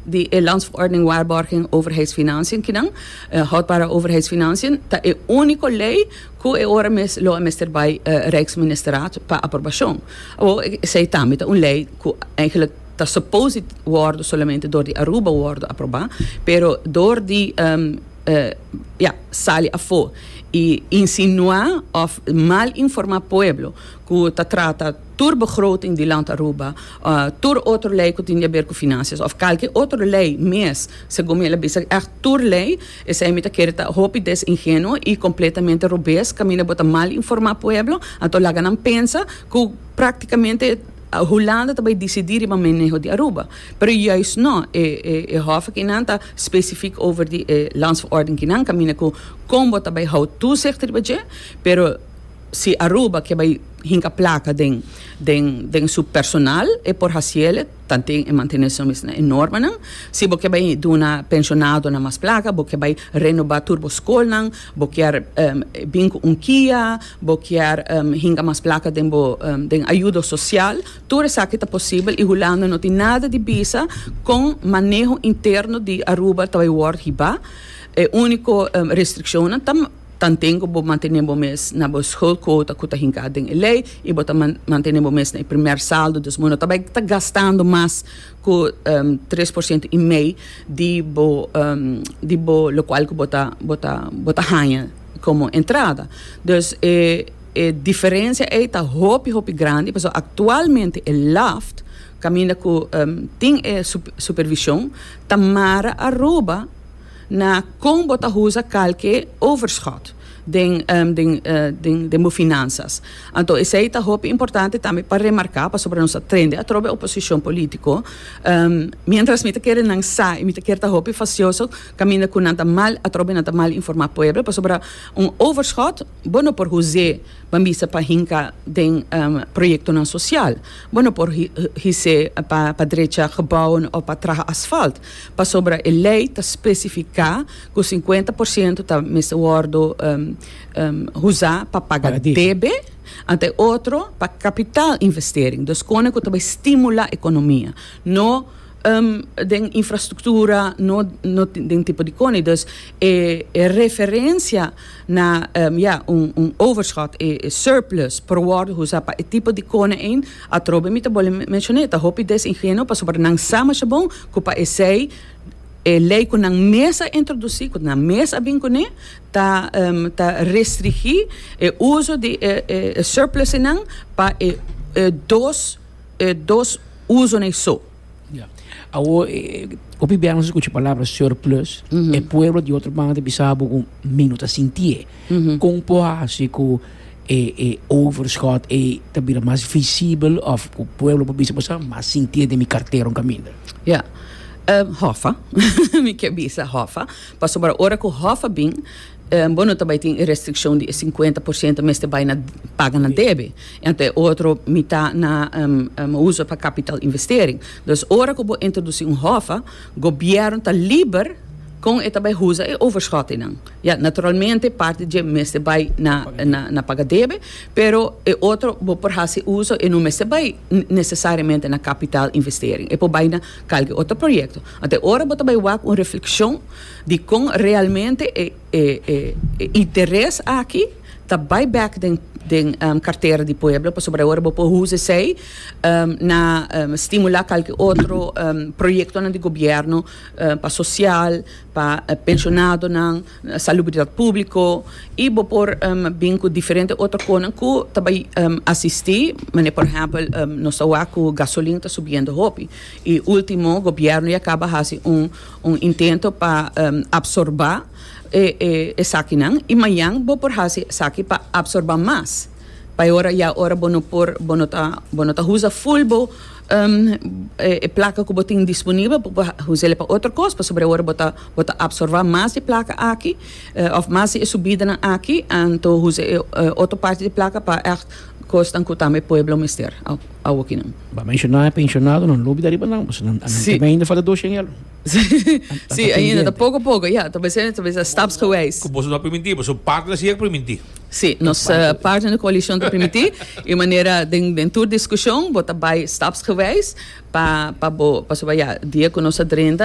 di e Landsverordening Waarborging Overheidsfinanciën kinan, Houdbare Overheidsfinanciën, ta e úniko lei ku e ora mes lo a mester bai Rijksministerraad pa aprobashon. Awor esei tambe ta un lei ku eigenlijk ta suppose di wòrdu solamente dor di Aruba wòrdu aprobá, pero dor di ya sali afó i insinuá òf mal informá pueblo ku ta trata tur begroting di Land Aruba, tur otro lei ku tin di haber ku finansias òf kalke otro lei mes, segun mi el a bisa ègt tur lei, esei mi ta kere ta hopi desingenuo i kompletamente robes kaminda bo ta mal informá pueblo, anto laga nan pensa ku praktikamente Hulanda ta bai disidí riba maneho di Aruba. Pero juist no, e e hof akinan ta spesifik over di e landsverordening kinan kaminda ku kon bo ta bai hou toezicht riba dje, pero Si Aruba ke bai hinka plaka den den den su personal e por hasiele tanten e mantene su mes na e normanan. Si bo ke bai duna pensionadonan mas plaka, bo ke bai renoba tur bo skolnan, bo kier bin ku un kia, bo kier hinka mas plaka den bo den ayudo sosial, tur esaki ta posibel i Hulanda no tin nada di bisa kon maneho interno di Aruba ta bai wòrdu hibá. E úniko restrikshonnan ta. Tanten ku bo mantené bo mes na bo schuldquota ku ta hinká den e lei i bo ta mantené bo mes na e primer saldo, dus bo no ta bai ta gastando mas ku 3% i mei di bo di bo lokual ku bo ta bo ta bo ta haña komo entrada. Dus e e diferensia ei ta hopi hopi grandi pasobra aktualmente e laft kaminda ku tin e supervishon ta mara Aruba na kon bo ta usa kalke overschot den den den den bo finansas. Anto esei ta hopi importante tambe pa remarká pasobra nos a trende atrobe oposishon polítiko. Miéntras mi ta kere nan sa i mi ta kere ta hopi fasioso kaminda ku nan ta mal atrobe nan ta mal informá pueblo pasobra un overschot bo no por us'é Ban bisa pa hinka den proyektonan sosial. Bo no por his'é pa drecha gebouwen òf pa traha asfalt, pasobra e lei ta spesifiká ku 50% ta mester wòrdu usá pa paga debe, anto e otro pa kapitaalinvestering, dus kone ku ta bai stimulá ekonomia. No den infrastruktura, no den tipo di kone. Dus e referensia na ya un un overschot e e surplus por wòrdu usa pa e tipo di kone ein atrobe mi ta bole menshoné ta hopi desingenuo pasobra nan sa masha bon ku pa esei e lei ku nan mes a introdusí ku nan mes a bin kuné ta ta restringí e uso di e e surplusnan pa e e dos e dos usonan so. Ya. Awor, hopi bia nos escucha palabra surplus, e pueblo di otro banda ta bisa bo cu mi no ta sintié. Con por haci cu e e overschot ei ta bira mas visibel of cu pueblo por bisa bo sa mas sintié den mi cartera un caminda? Ya. Hoffa. Mi ke bisa hoffa. Pasobra ora cu hoffa bin, Bo no ta bai tin e restrikshon di e 50% mester bai na paga na debe. Anto e otro mitá na uso pa capital investering. Dus ora ku bo introdusí un hòfa, gobièrnu ta liber kon e ta bai usa e overschottingnan. Ya, naturalmente parti dje mester bai na na paga debe, pero e otro bo por hasi uso e no mester bai nesesariamente na capital investering. E por bai na kalke otro proyekto. Anto e ora bo ta bai wak un reflekshon. Dikon realmente e e e interes aki ta bai bek den den kartera di pueblo pasobra ora bo por usa esei na stimulá kalke otro proyektonan di gobièrnu pa sosial, pa penshonadonan, salubridat públiko i bo por bin ku diferente otro konan ku ta bai asistí manera por ehèmpel nos ta wak ku gasolin ta subiendo hopi i último gobièrnu ya kaba hasi un Un intento pa absorba e esakinan y mañan bo por haci esaki pa absorba mas. Pa e ora ya ora bo no por bo no ta bo no ta usa full bo e placa cu bo tin disponibel bo por us'e pa otro cos pasobra e ora bo ta bo ta absorba mas di e placa aki of mas di e subidanan aki anto usa e otro parti di e placa pa echt cosnan cu tambe pueblo mester awokinan. Bo a menciona e pensionadonan, lo bida riba nan, pasobra nan tambe ainda falta 200 euro. Sí, ainda ta poco poco, ja, ta bes ta bes stapsgewijs. Ku boso no a primintí, boso partner sí a primintí. Sí, nos partner di koalishon ta primintí i manera den den tur diskushon bo ta bai stapsgewijs pa pa bo pasobra ya dia ku nos a drenta.